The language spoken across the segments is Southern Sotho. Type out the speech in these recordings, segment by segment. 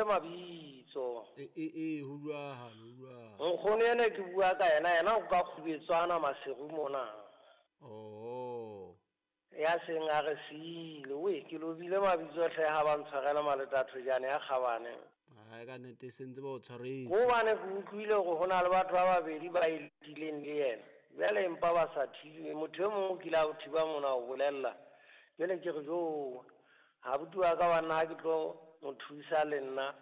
lobile mabitso. E e e ho jwalo, ho jwalo. Nkgono ene ke bua ka yena, yena o ka Kgubetswana Maseru mona. Oh. Ya seng a re siile. We, ke lobile mabitso hle ha ba ntshwarela Maleta Thojane ya kgabane. Hai ka nnete se ntse ba o tshwaretse. Hobane ke utlwile hore ho na le batho ba babedi ba e letileng le yena. Jwale empa ba sa thibe. Motho e mong o kile a o thiba mona o bolella. Jwale ke re jo, abuti wa ka wa nna ha ke tlo mo thusa le nna,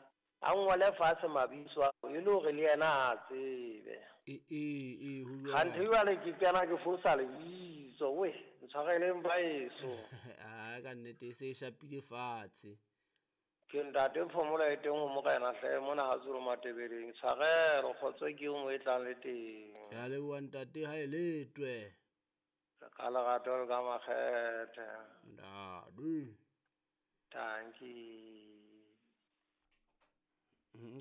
a ngole fatshe mabitso ao e le hore le yena a tsebe. E e e ho jwalo. Kganthe jwale ke kena ke fosa lebitso. We, ntshwareleng baeso. Hai ka nnete e se e shapile fatshe. Ke ntate Phomola e teng ho morena hle mona ha Zulu Matebeleng. Tshwarelo kgotso ke eo mo e tlang le teng. Ke a leboha ntate ha e letwe. Ka lerato le ka makgethe. Ntate. Tanki.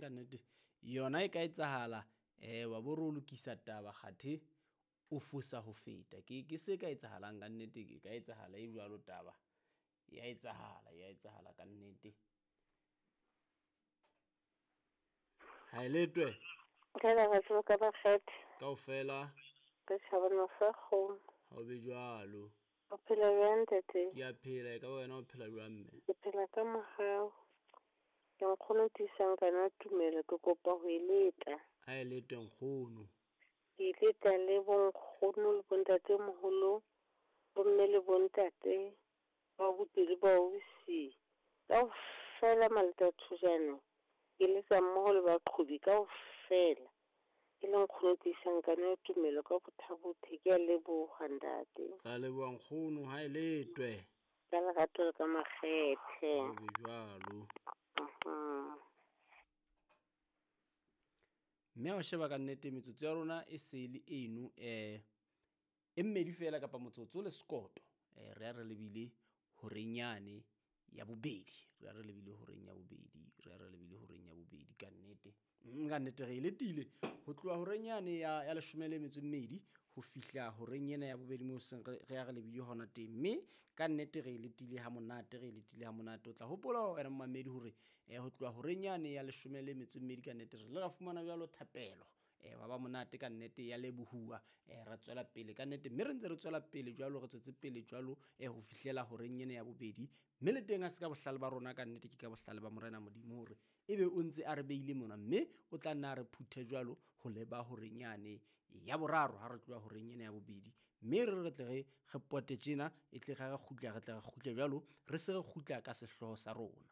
Ka nnete yona e ka etsahala wa bo re o lokisa taba kgathe o fosa ho feta. Ke se ka etsahalang ka nnete, e ka etsahala e jwalo taba. Ya etsahala, ya etsahala ka nnete. Ha e letwe. Ka lerato ka makgethe. Kaofela. Re tjhabana sa kgomo. Ha o be jwalo. O phela jwang ntate? Ke a phela, e ka ba wena o phela jwang mme? Ke phela ka mohau. Ke nkgono tiisang kana tumelo, ke kopa ho e leta. Ha e letwe nkgono. Ke e leta le bonkgono le bontatemoholo, bomme le bontate, ba abuti le ba ausi. Kaofela Maleta Thojane, ke letsa mmoho le baqhobi kaofela. Ke le nkgono tiisang kana tumelo ka bothabothe, ke a leboha ntate. Ra leboha nkgono ha e letwe. Ka lerato le ka makgethe. Ho be jwalo. Mme ha o sheba ka nnete metsotso ya rona e se le eno e mmedi fela kapa motsotso le sekoto. Re ya re lebile horeng yane ya bobedi. Re ya re lebile horeng ya bobedi. Re ya re lebile horeng ya bobedi ka nnete. Ka nnete re e letile ho tloha horeng yane ya leshome le metso e mmedi ho fihla horeng ena ya bobedi moo seng re ya re lebile hona teng. Mme ka nnete re e letile ha monate, re e letile ha monate. O tla hopola wena momamedi hore ho tloha horeng yane ya leshome le metso e mmedi ka nnete re ile ra fumana jwalo thapelo. Wa ba monate ka nnete ya lebohuwa. Ra tswela pele ka nnete, mme re ntse re tswela pele jwalo, re tswetse pele jwalo ho fihlela horeng ena ya bobedi. Mme le teng ha se ka bohlale ba rona ka nnete, ke ka bohlale ba Morena Modimo hore ebe o ntse a re beile mona, mme o tla nna a re phuthe jwalo ho leba horeng yane ya boraro ha re tloha horeng ena ya bobedi. Mme re tle re pote tjena, e tle re kgutla, re tle re kgutle jwalo, re se re kgutla ka sehlooho sa rona.